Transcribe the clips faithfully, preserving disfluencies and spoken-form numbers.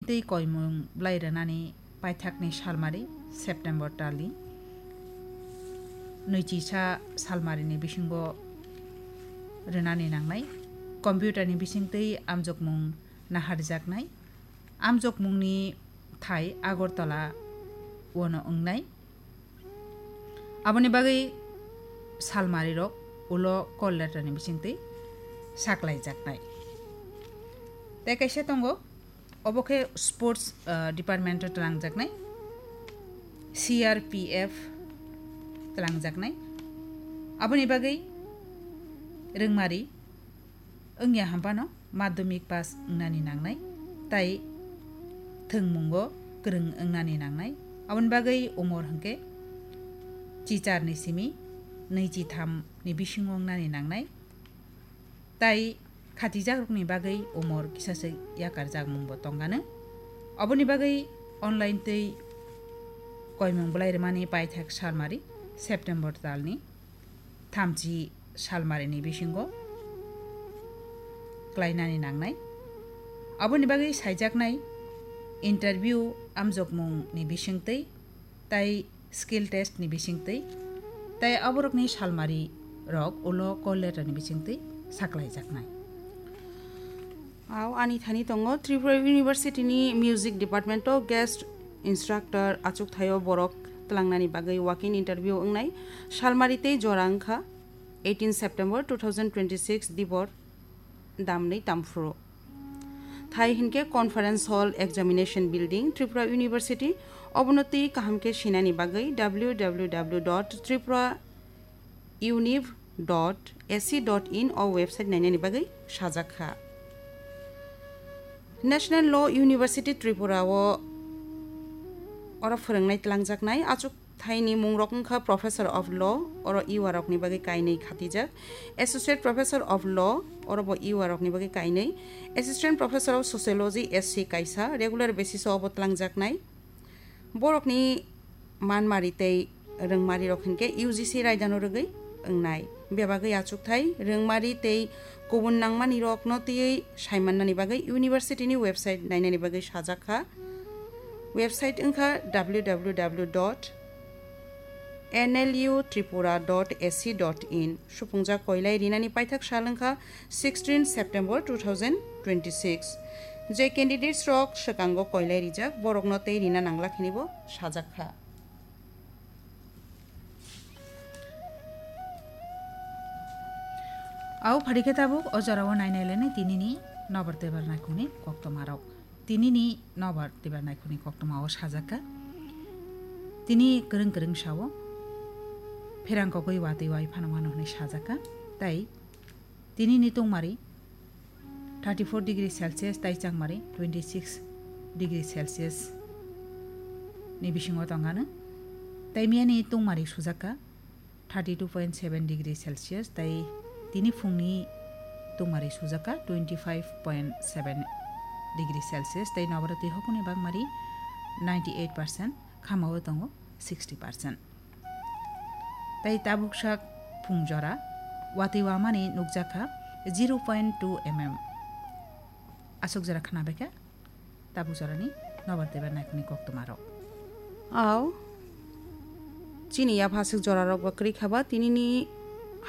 tei koimung bwlai rwnani paithakni salmari September talni nwichisa salmarini bisingo rwnani nangnai. Computerni bisingtwi amjokmung naharjaknai. Amjokmungni thai Agartala-ono wngnai. Aboni bagwi salmarirok ulo call letterni bisingtwi saklaijaknai. Tei kaisa tongo, obo khe sports, ah, department-o twlangjaknai, C R P F twlangjaknai. Aboni bagwi rwngmari wngya hampano madhyamik pass wngnani nangnai, tai thwngmungo kwrwng wngnani nangnai. Aboni bagwi umor hwnkhe chicharni simi nwichitham ni bisingo wngnani nangnai, tai khatijakrokni bagwi umor kisaswk yakarjakmungbo tongano. Aboni bagwi online tei koimung bwlai rwmani paithak salmari September talni thamchi salmarini bisingo klainani nangnai. Aboni bagwi saijaknai interview amjokmungni bisingtwi tai skill test ni bisingtwi, tai aborokni salmari rok ulo call letter ni bisingtwi saklaijaknai. Ao ani thani tongo Tripura University ni Music Department o guest instructor achuk thaio borok twlangnani bagwi walk-in interview wngnai. Salmari tei jora wngkha eighteen September two thousand twenty-six, dibor damnwi tamphuru. Thai hinkhe Conference Hall, Examination Building, Tripura University. Obono twi kaham khe sinani bagwi W W W dot tripura univ dot A C dot in o website nainani bagwi sajak kha. National Law University Tripura o oro phwrwngnai twlangjaknai achuk thaini mungrok wngkha Professor of Law, oro E U A rokni bagwi kainwi khatijak, Associate Professor of Law, oro bo E U A rokni bagwi kainwi, Assistant Professor of Sociology, S C kaisa, regular basis o obo twlangjaknai. Borokni manmari tei rwngmari rok hinkhe U G C raidano rwgwi wngnai. Bebagwi achukthai, rwngmari tei kubun nangmani rokno twiwi saimannani bagwi university ni website nainani bagwi sajak kha. Website wngkha W W W dot N L U tripura dot A C dot in. Supungjak koilai rinani paithak sal wngkha sixteen September two thousand twenty-six. Je candidates rok swkango koilai rijak, borokno tei rina nangla khinibo sajak kha. Au phari khe tabuk o jorao nainai lainai tinini nobar tebar naikhungni koktwmarok. Tinini nobar tebar naikhungni koktwmao sajak kha. Tini kwrwng kwrwng sao, pherang kogwi watwi wai phano mano hwnwi sajak kha. Tai tinini tungmari thirty four degree Celsius tai changmari twenty six degree Celsius ni bisingo tongano. Tai miyani tungmari sujak kha thirty two point seven degree Celsius, tai tini phungni tungmari sujak kha twenty five point seven degree Celsius, tai nobara twi hokuni bangmari ninety eight percent, khamao tongo sixty percent. Tai tabuksak phung jora watwi wamani nukjak kha zero point two M M. Aswk jora khna bai kha tabuk jorani nobar tebar naikhungni koktwmarok. Au, chini yapha aswk jorarok ba kwrwi kha ba, tinini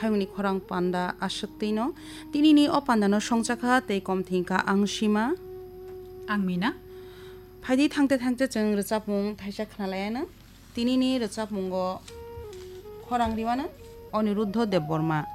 hayungni khorang panda aswk twino. Tinini o pandano songcha kha tei kom thwng kha ang Sima. Ang Mina. Phaidi thangte thangte chwng rwchapmung thaisa khna lai anw. Tinini rwchapmungo khorang riwano Aniruddha Debbarma.